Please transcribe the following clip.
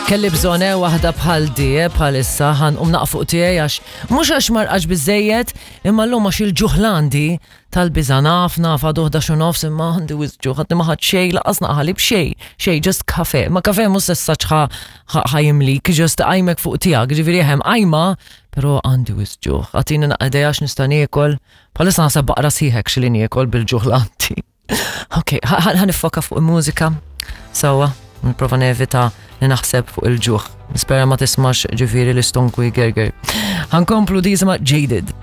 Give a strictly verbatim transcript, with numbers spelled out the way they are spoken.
Kelli bżonn eh, waħda bħal di, eh, bħal issa, ħa nqum naqra fuq tiegħi għax mhux għax ma rqadtx biżżejjed, imma llum għax il-ġuħ għandi tal-biża' naf naf għadu ħdax u nofs imma għandi wisq ġuħ, għadni ma ħadt xejn, lanqas naqra ħalib xejn, xejn, just kafe. Ma kafe mhux sessaċ ħa jimlik, just għajmek fuq tiegħek, ġifieri hemm għajma, però għandi wisq ġuħ. Agħtini naqra idea x'nista' niekol, bħalissa naħseb baqra sħiħek xili niekol bil-ġuħ għandi. Ok, ħa niffoka fuq il-mużika, sewwa, nipprova nevita li naħseb fuq il-ġuħ. Nispera ma tismax ġifieri l-istonku jgerger. Ħa nkomplu din jisimha Jaded.